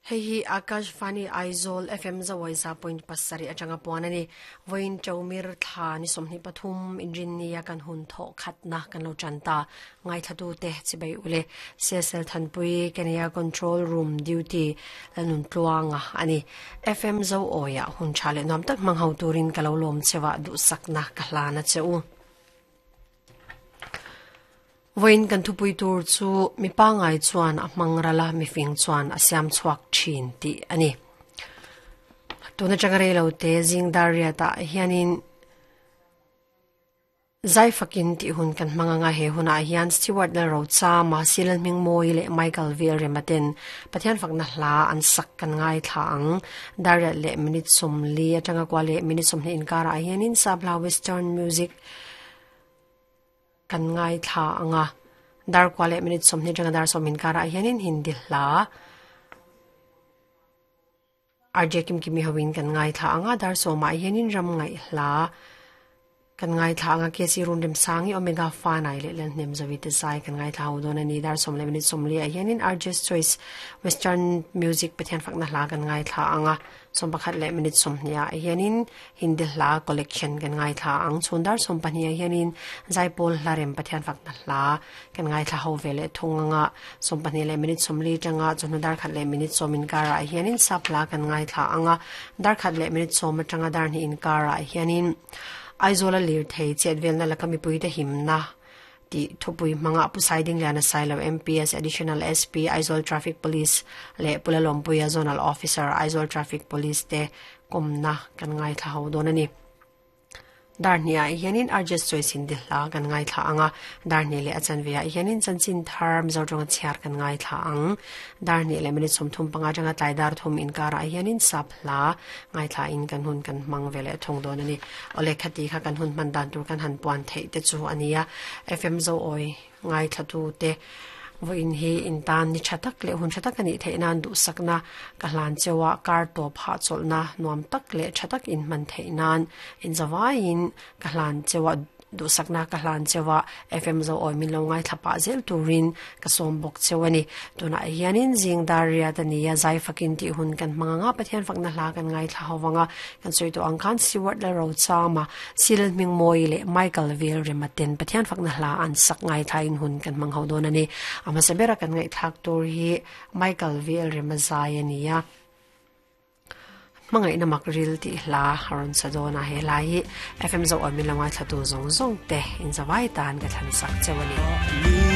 Hei hi Akashvani Aizawl FM Zawaisa point pasarih atanga puan a ni. Vawiin Ṭaumir thla ni 23 Inrinnia kan hun thawh khatna kan lo ṭan ta. Ngaithlatute chibai ule CSL Thanpui Kenya Control Room Duty Lalnuntluanga a ni. FM Zoawiah hun ṭha leh nuam tak hmang ho turin ka lo lawm cheuah duhsakna ka hlan a che u. Vawiin kan thupui tur chu mi pangai chuan a hmang ral a, mifing chuan a siam chhuak thin tih a ni. Tun atanga rei lo te zing dar riatah hianin zai fakin tih hun kan hmang anga he hunah hian Stewart Lalrochama, Silal Hmingmawi leh Michael Velrema ten Pathian fakna hla an sak kan ngaithla ang. Dar riat leh minute 40 atanga kua leh minute 20 inkarah hianin Sabla Western Music Kan ngaithla ang a, dar kua leh minute 20 atanga dar 20 inkarah hianin Hindi hla RJ Kimkimi hoin kan ngaithla ang a, dar sawmah hianin ram ngaih hla kan ngaithla ang a, KC Runremsangi Omega Fanai leh Lalhnem Zawi te zai kan ngaithla ho dawn a ni. Dar sawm leh minute 40 ah hianin RJ's Choice Western Music Pathian fakna hla kan ngaithla ang a, 11 leh minute 20 ah hianin Hindi hla collection kan ngaithla ang. Chhun dar 12 ah hianin Zaipawl hla rem Pathian fakna hla kan ngaithla ho ve leh thung anga 12 leh minute 40 tanga chawhnu dar khat leh minute 10 inkarah hianin sap hla kan ngaithla anga dar khat leh minute 10 atanga dar hnih inkarah hianin Aizawla lirthei chetvelna laka mipuite himna tih thupui hmanga Pu Saidingliana Sailo MPS Additional SP Aizawl Traffic Police leh Pu Lalawmpuia Zonal Officer Aizawl Traffic Police te kawmna kan ngaithla ho dawn a ni. Dar hnih ah hianin RJ Choice Hindi hla kan ngaithla ang a, dar hnih leh a chanve ah hianin chanchin thar Mizo tawnga chhiar kan ngaithla ang. Dar hnih leh minute 35 atanga tlai dar thum inkarah hianin sap hla ngaithla in kan hun kan hmang ve leh thung dawn a ni. Awle khati kha kan hun hman dan tur kan han puan theih te chu a nia. FM Zoawi ngaithla tu te vawiin hi in tan ni tha tak leh hun tha tak a nih theih nan duhsakna ka hlan cheu a, kar tawp hahchawlhna nuam tak leh tha tak in hman theih nan in zavaiin ka hlan cheu a. Duhsakna ka hlan cheu a, FM Zoawi min lo ngaithla pah zel turin ka sawm bawk cheu a ni. Tunah hianin zing dar riat a ni a, zai fakin tih hun kan hmang ang a, Pathian fakna hla kan ngaithla ho vang a, kan sawi tawh ang khan Stewart Lalrochama, Silal Hmingmawi leh Michael Velrema ten Pathian fakna hla an sak ngaithlain hun kan hmang ho dawn a ni. A hmasa bera kan ngaihthlak tur hi Michael Velrema zai a ni a. Hmangaihna mak ril tih hla a rawn sa dawn a, he hla hi FM Zoawi min lo ngaithlatu zawng zawng te in zavai tan ka thlan sak cheu a ni.